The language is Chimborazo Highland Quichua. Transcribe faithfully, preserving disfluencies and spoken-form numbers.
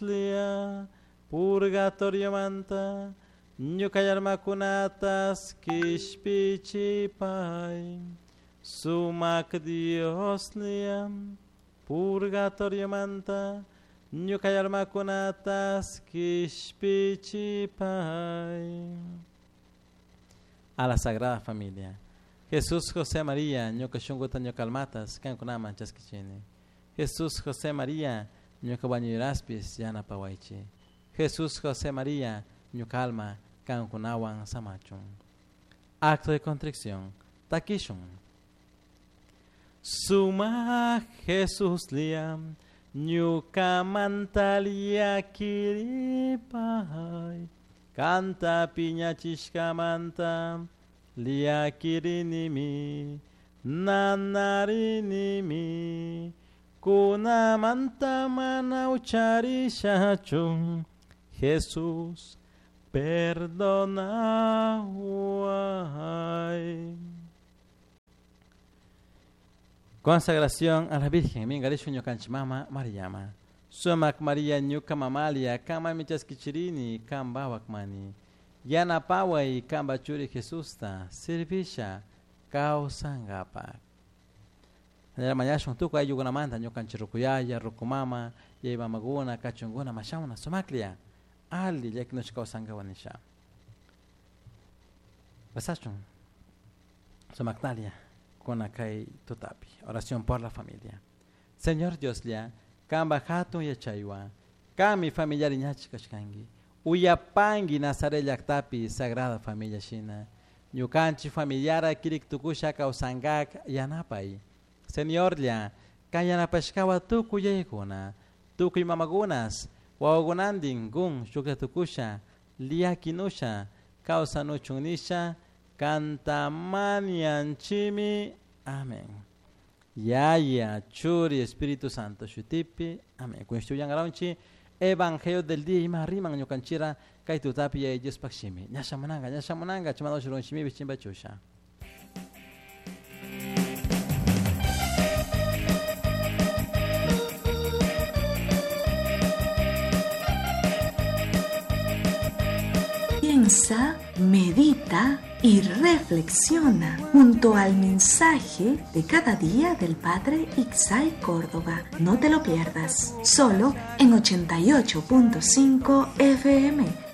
Dioslia purgatoriomanta ñuka almakunatas kishpichipay. Sumak Dioslia purgatoriomanta ñuka almakunatas kishpichipay. A la Sagrada Familia. Jesús, José, María, ñuka shunkuta ñuka almatas kankunaman chaskichini. Jesús, José, María, ñuka wañuyraspis yanapawaychi. Jesús, José, María, ñuka alma kankunawan samachun. Acto de contrición. Takishun. Suma Jesús liam ñuka mantalia kiripay. Kanta piñachishkamanta liakirinimi nanarinimi kunamanta mana ucharishachun. Jesús, perdonaway. Consagración a la Virgen, mingarishu ñukanchik mama Mariama. Sumak María ñuka mamalia, kama michaskichirini, kamba wakmani. Yanapaway kamba churi Jesusta, servisha kawsangapak. Mañashun tukuy ayllukunamanta ñukanchik rukuyaya, rukumama, yaymamakuna, kachunkuna, mashamuna, sumaklia, ali llakinushka kawsankawa nisha. Pasachun, sumaktalia, kunakay tutapi. Oración por la familia. Señor Dioslia, kamba hatun yachaywan, kami familiar ñachi kashkanki, uyapanki Nazaret llaktapi Sagrada Familia shina, ñukanchik familiara kirik tukusha kawsankak yanapay. Señorlla, kan yanapashkawa tukuy yaykuna, tukuy mamakunas, wawakunantin kun shuklla tukusha, liakinusha, kawsanuchun nisha, kantamanianchimi. Amén. Yaya, Churi, Espíritu Santo, shutipi. Amén. Kunshtuyangaronchi, Evangelio del día ima riman ñukanchira kay tutapi yaya Diospaq shimi. Ñashamunanga, ñashamunanga, chimado shurunchimi bichimba chusha. Piensa, medita y reflexiona junto al mensaje de cada día del Padre Ixay Córdoba. No te lo pierdas, solo en ochenta y ocho punto cinco F M.